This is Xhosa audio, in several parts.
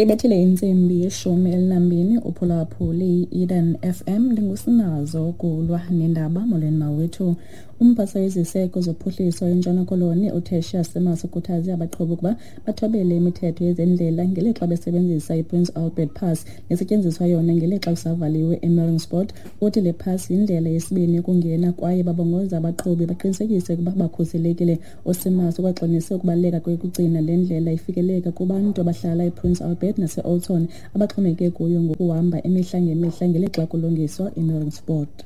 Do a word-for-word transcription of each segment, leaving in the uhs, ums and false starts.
Ibethile intsimbi yeshumi elinambini uphulaphuli i-Eden F M ndingusinazo kulwa nendaba. Molweni mawethu. Umphathiswa weziseko zophuhliso eNtshona Koloni uTertia Simers ukhuthaze abaqhubi ukuba bathobele imithetho yezendlela ngelixa besebenzisa iPrince Albert Pass nesetyenziswa yona ngelixa kusavaliwe eMeringspoort. Uthi le pass yindlela yesibini yokungena kwaye babongoza abaqhubi baqinisekise ukuba bakhuselekile. USimers ukwagxinise ukubaluleka kokugcina le ndlela ifikeleleka kubantu abahlala ePrince Albert nase-Oudtshoorn abaxhomekeke kuyo ngokuhamba imihla ngemihla ngelixa kulungiswa iMeringspoort.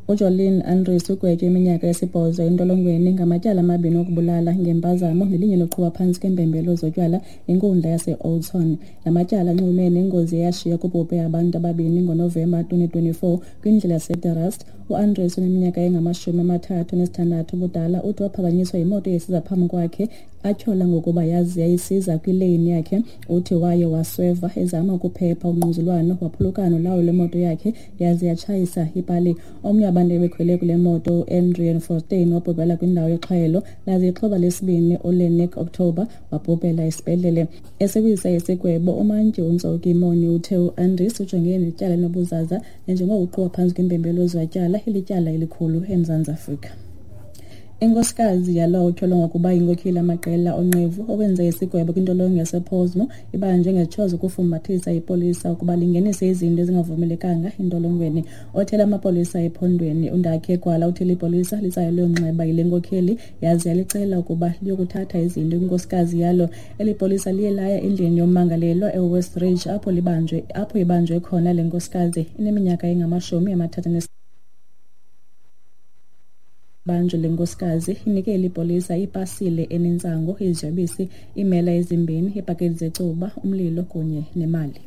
UJolene Andries ugwetywe iminyaka esibhozo entolongweni ngamatyala amabini okubulala ngempazamo nelinye loqhuba phantsi kweempembelelo zotywala inkundla yase-Oudtshoorn. La matyala anxulumene nengozi eyashiya kubhubhe abantu ababini ngoNovemba twenty twenty-four kwindlela yaseDerust. UAndries oneminyaka engamashumi amathathu nesithandathu ubudala uthi waphakanyiswa yimoto esiza phambi kwakhe atyhola ngokuba yazi yayisiza kwileyini yakhe. Uthi waye wasweva ezama ukuphepha ungquzulwano waphulukana nolawulo lwemoto yakhe yaze yatshayisa ipali. Omnye wabantu ebekhwele kule moto uAdrian Fortuin wabhubhela kwindawo yexhwayelo laze ixhoba lesibini uLenik October wabhubhela esibhedlele. Esebenzisa isigwebo umantyi uNtsoki Moni uthe uAndries ujongene netyala lobuzaza nanjengoko uqhuba phantsi kweempembelelo zotywala ilityala elikhulu eMzantsi Afrika. Inkosikazi yalowo utyholwa ngokuba yinkokheli yamaqela onqevu owenze isigwebo kwintolongo yasePollsmoor ibanjwe ngezitsho zokufumbathisa ipolisa ukuba lingenise izinto ezingavumelekanga entolongweni. Othela amapolisa ephondweni uNdakhe Gwala uthele ipolisa litsalelwe umnxeba yile nkokheli yaze yalicela ukuba liyokuthatha izinto kwinkosikazi yalo. Eli polisa liye laya endlini yommangalelwa eWest Ridge apho libanjwe apho ibanjwe khona le nkosikazi ineminyaka engamashumi amathathu banjwe le nkosikazi inike eli polisa ipasile enentsango, iziyobisi, iimela ezimbini, iipaketi zecuba, umlilo kunye nemali.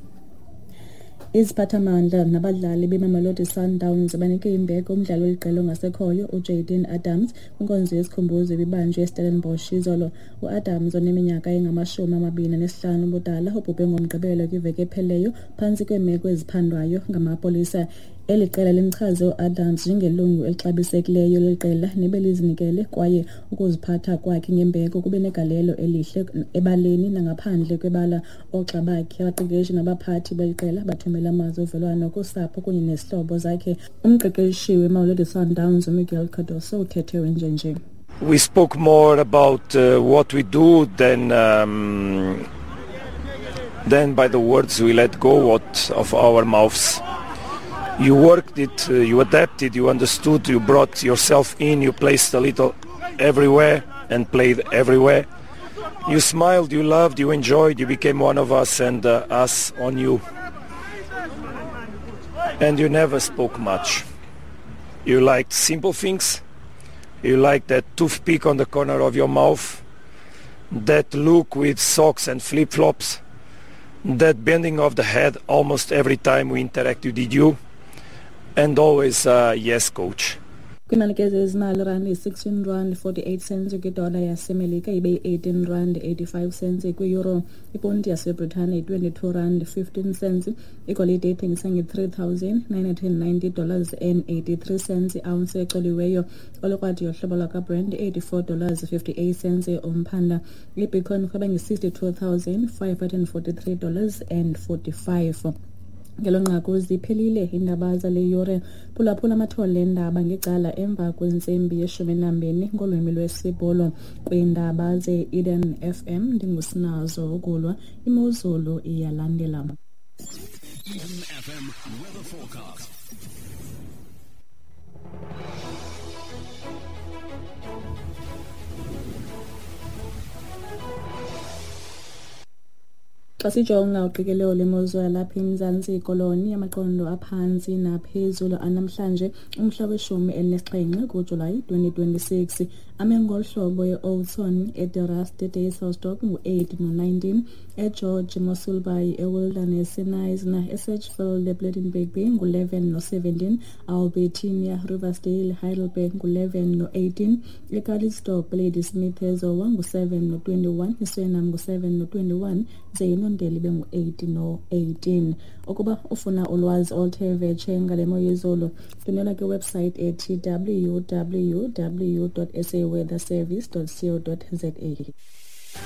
Iziphathamandla nabadlali beMamelodi Sundowns banike imbeko umdlali weliqela ongasekhoyo uJayden Adams kwinkonzo yesikhumbuzo ebibanjwe eStellenbosch izolo. UAdams oneminyaka engamashumi amabini anesihlanu ubudala ubhubhe ngoMgqibelo kwiveki ephelileyo phantsi kweemeko eziphandwayo ngamapolisa. Eli qela limchaze uAdams njengelungu elixabisekileyo leqela nebelizinikele kwaye ukuziphatha kwakhe ngembeko kube negalelo elihle ebaleni nangaphandle kwebala. Oogxa bakhe, abaqeqeshi nabaphathi beli qela bathumela amazwi ovelwano kusapho kunye nezihlobo zakhe. Umqeqeshi weMamelodi Sundowns uMiguel Cardoso uthethe wenjenje. We spoke more about uh, what we do than um, than by the words we let go what of our mouths. You worked it, uh, you adapted, you understood, you brought yourself in, you placed a little everywhere and played everywhere. You smiled, you loved, you enjoyed, you became one of us and uh, us on you. And you never spoke much. You liked simple things. You liked that toothpick on the corner of your mouth, that look with socks and flip-flops, that bending of the head almost every time we interacted with you. And always, uh, yes, coach. Kwinani kezezimali rand yi-sixteen rand forty-eight cents kwidola yaseMelika ibe yi-eighteen rand eighty-five cents kwi-euro. Iponti yaseBritane yi-twenty-two rand fifteen cents. Igolide ithengisa nge-three thousand nine hundred ninety dollars and eighty-three cents i-ounce ecoliweyo. Olukrwada yohlobo lwakwaBrent eighty-four dollars fifty-eight cents umphanda. IBitcoin irhweba nge-sixty-two thousand five hundred forty-three dollars and forty-five. Ngelo nqaku ziphelile iindaba zale yure. Phulaphula amathole eendaba ngecala emva kwentsimbi yeshumi nambini ngolwimi lwesiBhulu. Kwiindaba ze-Eden F M ndingusinazo ukulwa. Imozulu iyalandela. Eden F M weather forecast. Xa sijonga uqikelelo lwemozulu yalapha eMzantsi Koloni amaqondo aphantsi naphezulu anamhlanje umhla weshumi elinesixhenxe kuJulayi twenty twenty-six ame ngolu hlobo e-Oudtshoorn, eDerust, eDysselsdorp ngu-eight no-nineteen, eGeorge Mossel Bay, eWilderness, eKnysna, eSedgefield, ePlettenberg Bay ngu-eleven no-seventeen, Albertinia, Riversdale, Heidelberg ngu-eleven no-eighteen, eCalitzdorp, Ladysmith, eZowa ngu-seven no-twenty-one, iSuriname ngu-seven no-twenty-one, ze iNondeli bengu-eight no-eighteen. Ukuba ufuna ulwazi oluthe vetshe ngale mo yezulu, ndwendwela kwiwebsite ethi w w w dot s a weather service dot co dot z a.